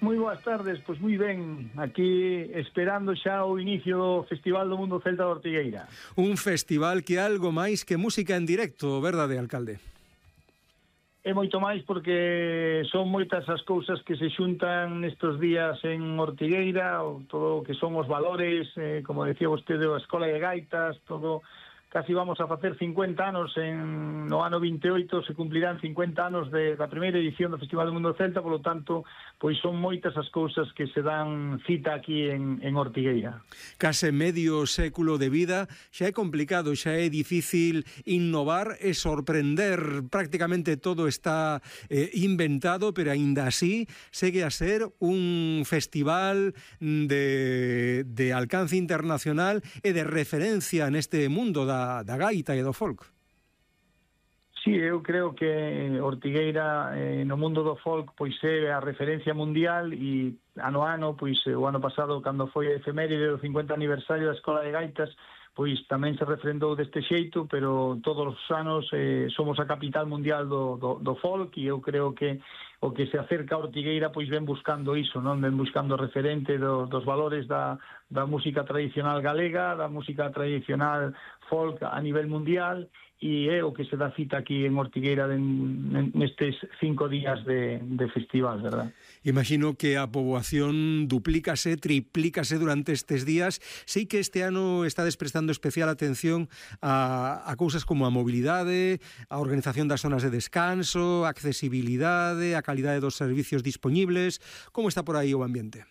Moi boas tardes, pois moi ben, aquí esperando xa o inicio do Festival do Mundo Celta de Ortigueira. Un festival que é algo máis que música en directo, verdade, alcalde? É moito máis porque son moitas as cousas que se xuntan nestes días en Ortigueira, todo o que son os valores, como decía vostede, a Escola de Gaitas, todo. Casi vamos a facer 50 anos, no ano 28 se cumplirán 50 anos da primeira edición do Festival do Mundo Celta, polo tanto, pois son moitas as cousas que se dan cita aquí en Ortigueira. Case medio século de vida, xa é complicado, xa é difícil innovar e sorprender, prácticamente todo está inventado, pero aínda así segue a ser un festival de alcance internacional e de referencia neste mundo da gaita e do folk. Sí, eu creo que Ortigueira no mundo do folk pois é a referencia mundial e ano a ano, pois o ano pasado cando foi a efeméride do 50 aniversario da Escola de Gaitas, pois tamén se refrendou deste xeito, pero todos os anos somos a capital mundial do folk e eu creo que o que se acerca a Ortigueira pois ven buscando iso, non? Ven buscando referente dos valores da música tradicional galega, da música tradicional folk a nivel mundial, e é o que se dá cita aquí en Ortigueira nestes 5 días de festival, verdad? Imagino que a poboación duplícase, triplícase durante estes días. Sei que este ano estades prestando especial atención a cousas como a mobilidade, a organización das zonas de descanso, a accesibilidade, a calidade dos servicios dispoñibles. Como está por aí o ambiente?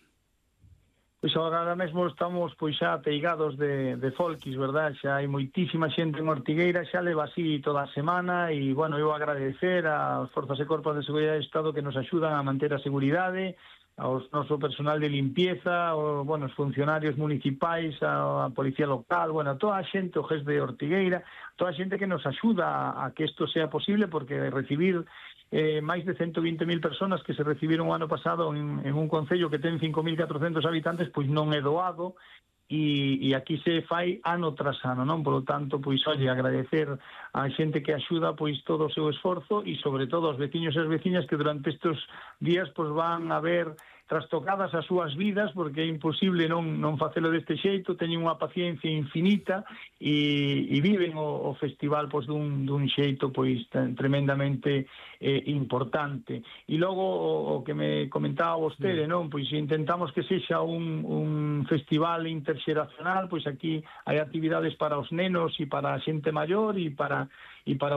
Pois agora mesmo estamos pois xa ateigados de folkis, verdad? Xa hai moitísima xente en Ortigueira, xa leva así toda a semana e, bueno, eu agradecer ás Forzas e Corpos de Seguridade do Estado que nos axudan a manter a seguridade, ao noso personal de limpieza, os funcionarios municipais, a policía local, bueno, toda a xente, o GES de Ortigueira, toda a xente que nos axuda a que isto sea posible, porque recibir máis de 120.000 personas que se recibiron o ano pasado en un concello que ten 5.400 habitantes, pois non é doado, e aquí se fai ano tras ano, non? Por lo tanto, pois, olle, agradecer a xente que axuda pois todo o seu esforzo e, sobre todo, aos veciños e as veciñas que durante estes días pois van a ver trastocadas as súas vidas, porque é imposible non facelo deste xeito, teñen unha paciencia infinita e viven o festival pois dun xeito pois tremendamente importante. E logo o que me comentaba vostede, non? Pois intentamos que sexa un festival interxeracional, pois aquí hai actividades para os nenos e para a xente maior e para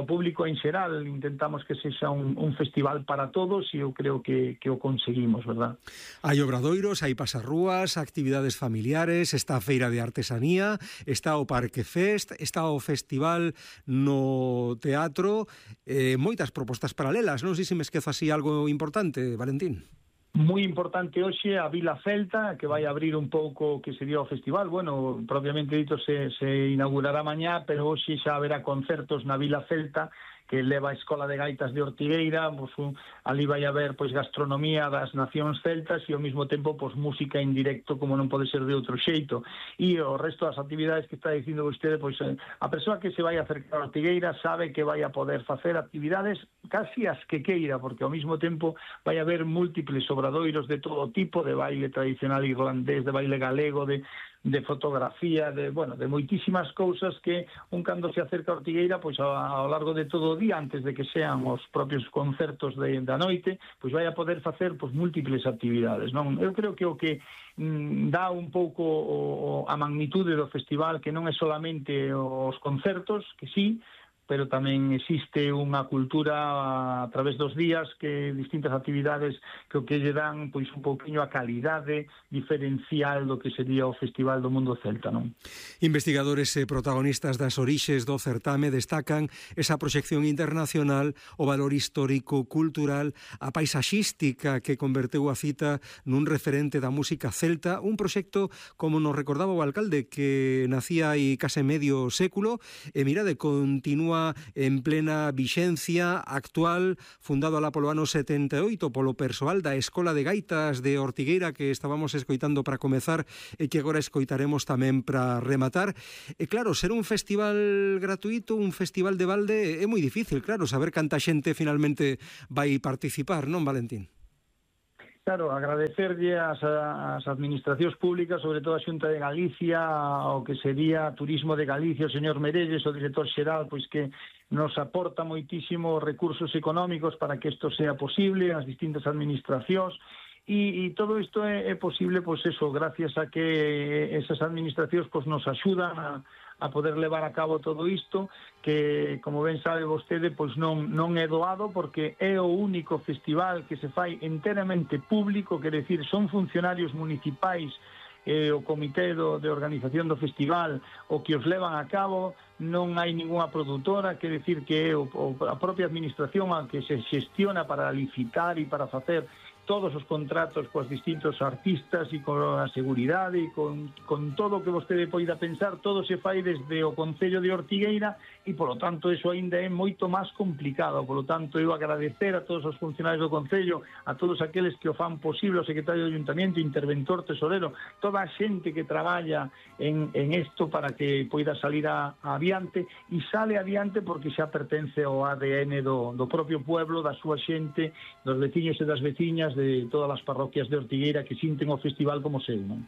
o público en xeral. Intentamos que sexa un festival para todos e eu creo que o conseguimos, verdad? Hai obradoiros, hai pasarrúas, actividades familiares, está a feira de artesanía, está o Parque Fest, está o festival no teatro, moitas propostas paralelas. Non sei se me esquezo así algo importante, Valentín. Moi importante hoxe a Vila Celta, que vai abrir un pouco que sería o festival. Bueno, propiamente dito se inaugurará mañá, pero hoxe xa haberá concertos na Vila Celta que leva a Escola de Gaitas de Ortigueira, pois, ali vai haber pois gastronomía das nacións celtas e ao mesmo tempo pois música en directo, como non pode ser de outro xeito. E o resto das actividades que está dicindo vostede, pois a persoa que se vai acercar a Ortigueira sabe que vai a poder facer actividades casi as que queira, porque ao mesmo tempo vai haber múltiples obradoiros de todo tipo, de baile tradicional irlandés, de baile galego, de fotografía, de moitísimas cousas que un cando se acerca a Ortigueira, pois ao largo de todo o día, antes de que sean os propios concertos da noite, pois vai a poder facer pois múltiples actividades, non? Eu creo que o que dá un pouco a magnitude do festival, que non é solamente os concertos, que sí, pero tamén existe unha cultura a través dos días, que distintas actividades que o que lle dan pois un pouquiño a calidade diferencial do que sería o Festival do Mundo Celta, non? Investigadores e protagonistas das orixes do certame destacan esa proxección internacional, o valor histórico, cultural, a paisaxística que converteu a cita nun referente da música celta, un proxecto, como nos recordaba o alcalde, que nacía aí case medio século, e mirade, continúa en plena vixencia actual, fundado alá polo ano 78 polo persoal da Escola de Gaitas de Ortigueira, que estábamos escoitando para comezar e que agora escoitaremos tamén para rematar. E claro, ser un festival gratuito, un festival de balde, é moi difícil, claro, saber canta xente finalmente vai participar, non, Valentín? Claro, agradecerlle ás administracións públicas, sobre todo a Xunta de Galicia, ao que sería Turismo de Galicia, o señor Merelles, o director xeral, pois que nos aporta moitísimos recursos económicos para que isto sea posible, as distintas administracións, e todo isto é posible, pois eso, gracias a que esas administracións pois nos axudan a poder levar a cabo todo isto, que, como ben sabe vostede, pois non é doado, porque é o único festival que se fai enteramente público, quer decir, son funcionarios municipais, o comité de organización do festival o que os levan a cabo, non hai ninguna produtora, quer decir que é a propia administración a que se xestiona para licitar e para facer todos os contratos cos distintos artistas e con a seguridade e con todo o que vostede poida pensar, todo se fai desde o Concello de Ortigueira e, polo tanto, eso aínda é moito máis complicado. Polo tanto, eu agradecer a todos os funcionarios do Concello, a todos aqueles que o fan posible, o secretario do Ayuntamiento, interventor, tesorero, toda a xente que traballa en isto para que poida salir adiante, e sale adiante porque xa pertence ao ADN do propio pueblo, da súa xente, dos veciños e das veciñas de todas as parroquias de Ortigueira que sinten o festival como seu, non?